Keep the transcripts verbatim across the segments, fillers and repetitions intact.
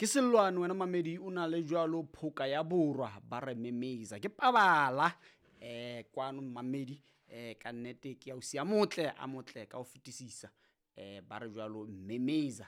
Ke sellwane wena mamedi o na le jwalo phoka ya borwa ba re memeza ke pabala eh kwano mamedi eh ka nnete ke ausi a motle a motle ka ho fetisisa eh ba re jwalo memeza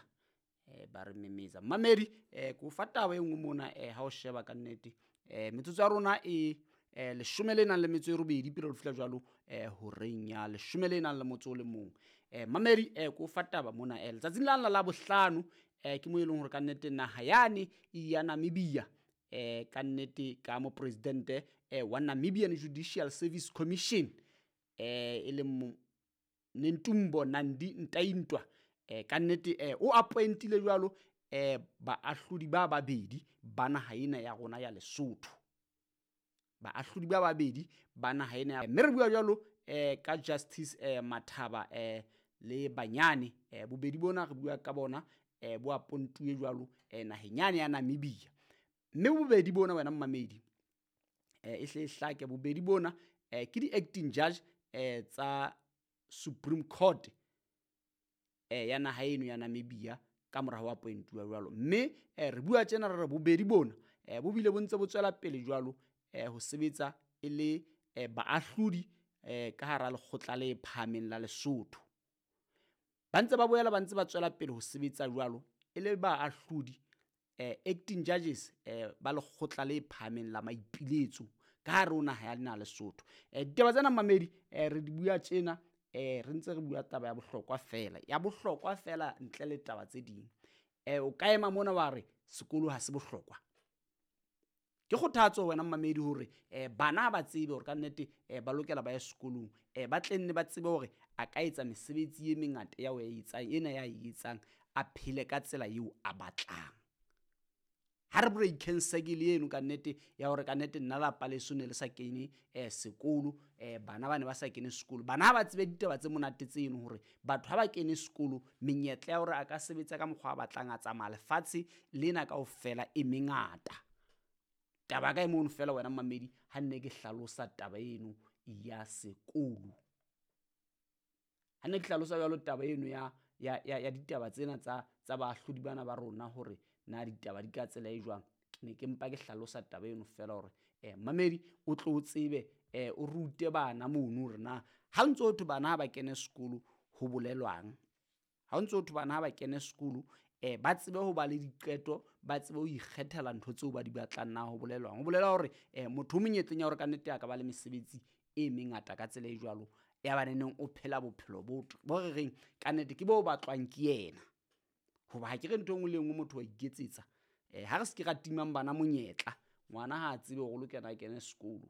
eh ba re memeza mamedi eh ko fa taba e nngwe mona eh ha o sheba ka nnete eh metsotso ya rona e eh leshome le nang le metso e robedi pele re fihla jwalo eh horeng ya leshome le nang le motso o le mong. Eh mamedi eh ko fa taba mona eh letsatsing la la bohlano eh ke mo e leng hore ka nnete naha yane ya Namibia eh ka nnete ka mo presidente eh wa Namibian Judicial Service Commission eh e leng Netumbo Nandi Ndaitwah eh ka nnete eh o appointile jwalo eh baahlodi ba babedi ba naha ena ya rona ya Lesotho. Baahlodi ba babedi ba naha ena mme re bua jwalo eh ka Justice eh Mathaba eh le Banyane eh bobedi bona re bua ka bona eh bo appointuwe jwalo eh naheng yane ya Namibia. Mme bobedi bona wena mmamedi eh e hle e hlake bobedi bona eh ke di-acting judge eh tsa Supreme Court eh ya naha eno ya Namibia ka mora ho appointuwa jwalo. Mme eh re bua tjena re re bobedi bona eh bo bile bo ntse bo tswela pele jwalo eh ho sebetsa e le eh baahlodi eh ka hara lekgotla le phahameng la Lesotho. Ba ntse ba boela ba ntse ba tswela pele ho sebetsa jwalo e le baahlodi eh acting judges eh ba lekgotla le phahameng la maipiletso ka hare ho naha ya lena Lesotho. Eh ditaba tsena mamedi eh re di bua tjena eh re ntse re bua taba ya bohlokwa fela ya bohlokwa fela ntle le taba tse ding. Eh o ka ema mona wa re sekolo ha se bohlokwa. Ke kgothatso wena mmamedi hore eh bana ba tsebe hore ka nnete eh ba lokela ba ye sekolong eh ba tle nne ba tsebe hore a ka etsa mesebetsi e mengata ya o etsang ena ya e etsang a phele ka tsela eo a batlang. Ha re breakeng circle eno ka nnete ya hore ka nnete nna lapa leso ne le sa kene eh sekolo eh bana ba ne ba sa kene sekolo. Bana ha ba tsebe ditaba tse monate tseno hore batho ha ba kene sekolo menyetla ya hore a ka sebetsa ka mokgwa a batlang a tsamaya lefatshe lena kaofela e mengata. Taba ka e mono fela wena mmamedi ha nne ke hlalosa taba eno ya sekolo. Ha nne ke hlalosa jwalo taba eno ya ya ya ditaba tsena tsa tsa baahlodi bana ba rona hore na ditaba di ka tsela e jwang, ke ne ke mpa ke hlalosa taba eno fela hore eh mmamedi o tlo tsebe eh o rute bana mono hore na ha ntso thwe bana ha ba kene sekolo ho bolelwang. Ha ntso thwe bana ha ba kene sekolo eh ba tsebe ho ba le diqeto, ba tsebe ho ikgethela ntho tseo ba di batlang na ho bolelwang. Ho bolela hore eh motho o monyetleng ya hore ka nnete a ka ba le mesebetsi e mengata ka tsela e jwalo ya ba neneng o phela bophelo bo bo re reng ka nnete ke bo batlwang ke yena. Hoba ha ke re ntho e nngwe le nngwe motho wa iketsetsa. Eh ha re se ke ra timang bana monyetla, ngwana ha a tsebe hore o lokela a kene sekolo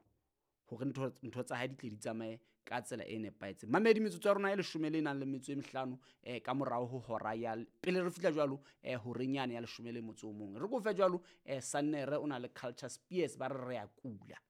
hore ntho ntho tsa hae di tle di tsamaye ka tsela e nepahetseng. Mamedi metsotso ya rona e leshome le nang le metso e mehlano eh ka morao ho hora ya pele re fihla jwalo eh horeng yane ya leshome le motso o mong. Re ko fe jwalo eh Sannere o na le Culture Spears ba re re ya kula.